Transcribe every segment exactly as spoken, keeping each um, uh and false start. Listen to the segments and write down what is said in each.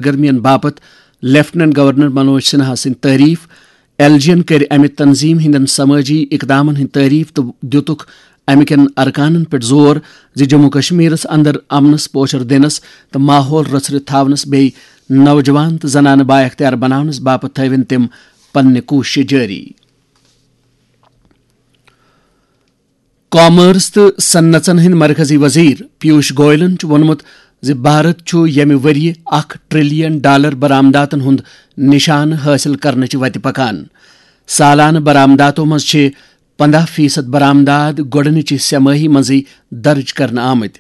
سرگرمین باپتھ lieutenant governor Manoj Sinha سٕنٛدۍ تعریف۔ ایل جی ین کٔر امہِ تنظیٖم ہٕنٛدٮ۪ن سمٲجی اقدامن ہٕنٛدۍ تعریف تہٕ دِتُکھ امہِ کٮ۪ن ارکانن پٮ۪ٹھ زور زِ جموں کشمیرس اندر امنس پوچھر دِنس تہٕ ماحول رژھرِتھ تھاونس بیٚیہِ نوجوان تہٕ زنانہٕ بااختیار بناونس باپتھ تھٲوِن تِم پننہِ کوٗششہٕ جٲری۔ کامرس تہٕ صنعژن ہٕنٛدۍ مرکزی وزیر پیوش گوئلن چھُ ووٚنمُت زِ بھارت چھُ ییٚمہِ ؤرۍ یہِ اکھ ٹریلین ڈالر برآمداتن ہُنٛد نشانہٕ حٲصِل کرنٕچ وتہِ پکان۔ سالانہٕ برآمداتو منٛز چھِ پنداہ فیصد برآمدات گۄڈٕنِچہِ سہ مٲہی منٛزٕے درج کرنہٕ آمٕتۍ۔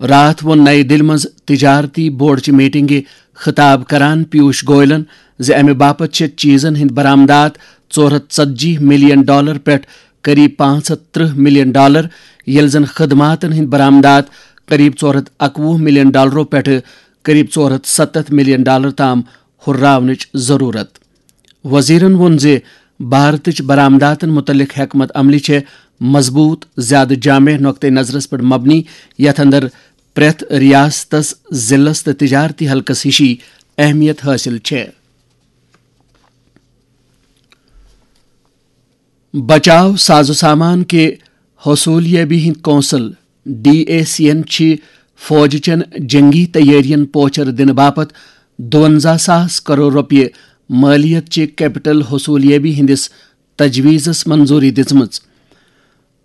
راتھ ووٚن نَیہِ دِلہِ منٛز تجارتی بورڈچہِ میٹنگہِ خطاب کران پیوش گوئلن زِ امہِ باپتھ چھِ چیزن ہٕنٛدۍ برآمدات ژور ہتھ ژتجی ملین ڈالر پٮ۪ٹھ قریب پانٛژھ ہتھ ترٕہ ملین ڈالر، ییٚلہِ زن خدماتن ہٕنٛدۍ برآمدات قریب ژور ہتھ اکوُہ ملین ڈالرو پٮ۪ٹھٕ قریب ژور ہتھ ستتھ ملین ڈالر تام ہُرراونٕچ ضروٗرت۔ وزیرن ووٚن زِ بھارتٕچ برآمداتن مُتعلق حکمت عملی چھےٚ مضبوٗط، زیادٕ جامع نقطہٕ نظرس پٮ۪ٹھ مبنی، یتھ اندر پرٛٮ۪تھ ریاستس، ضلعس تہٕ تجارتی حلقس ہِشی اہمیت حٲصِل چھےٚ۔ بچاو ساز و سامان کہِ حصولیابی ہٕنٛدۍ کونسل، ڈی اے سی ین، چھِ فوج چٮ۪ن جنگی تیٲرین پوچھر دِنہٕ باپتھ دُونزہ ساس کرور رۄپیہِ مٲلیت چہِ کیپٹل حصولیابی ہٕنٛدِس تجویزس منظوری دِژمٕژ۔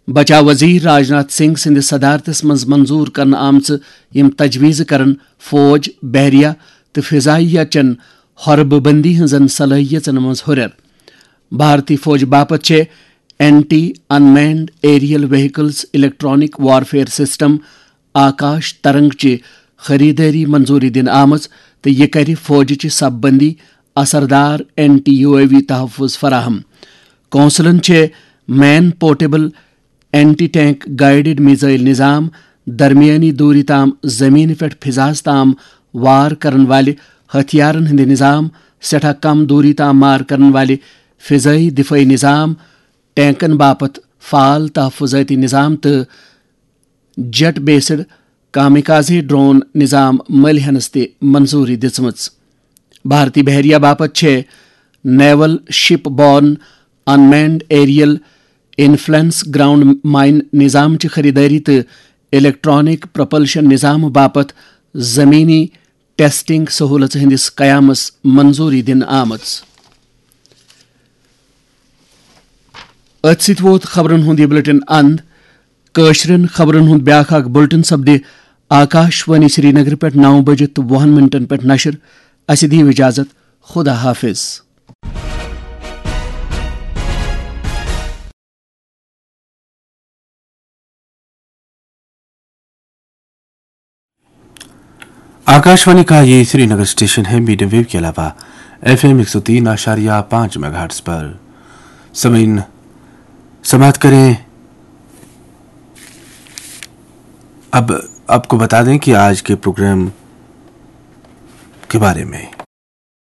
بچاو وزیر راجناتھ سنگھ سٕنٛدِ صدارتس منٛز منظور کرنہٕ آمژٕ یِم تجویزٕ کرن فوج، بحریہ تہٕ فضائیہ چٮ۪ن حربہٕ بندی ہٕنٛزن صلٲحیژن منٛز ہُرٮ۪ر۔ بھارتی فوج باپتھ چھےٚ anti unmanned aerial vehicles electronic warfare system Akash Tarang چہِ خریدٲری منظوری دِنہٕ آمٕژ تہٕ یہِ کرِ فوجچہِ صف بندی اثردار اینٹی یو اے وی تحفظ فراہم۔ کونسلن چھےٚ man portable anti tank guided missile نظام، درمیانی دوری تام زمینہِ پٮ۪ٹھ فضاہس تام وار کرن والہِ ہتھیارن ہٕنٛدِ نظام، سٮ۪ٹھاہ کم دوری تام مار کرن والہِ فضائی دفاعی نظام، ٹینکن باپتھ فعال تحفظاتی نظام تہٕ جیٹ بیسڈ کامیکازے ڈرون نظام مٔلۍ ہینس تہِ منظوری دِژمٕژ۔ بھارتی بحریہ باپتھ چھےٚ نیول شپ born انمینڈ aerial influence ground mine نظام چہِ خریدٲری تہٕ الیکٹرانک پروپلشن نظام باپتھ زمینی ٹیسٹنگ سہولژ ہٕنٛدِس قیامس منظوری دِنہٕ آمٕژ۔ أتھۍ سۭتۍ ووت خبرن ہُنٛد یہِ بلیٹن اند۔ کٲشرٮ۪ن خبرن ہُنٛد بیٛاکھ اکھ بلیٹن سپدِ آکاش وانی سرینگر پٮ۪ٹھ نو بجہِ تہٕ وُہن منٹن پٮ۪ٹھ نشر۔ اسہِ دِیِو اجازت۔ خدا حافظ۔ आकाशवाणी का ये श्रीनगर स्टेशन है, मीडियम वेव के अलावा एफ एम एक सौ तीन आशारिया पाँच मेगाहर्ट्ज पर। समयीन, समाप्त करें। अब आपको बता दें कि आज के प्रोग्राम के बारे में।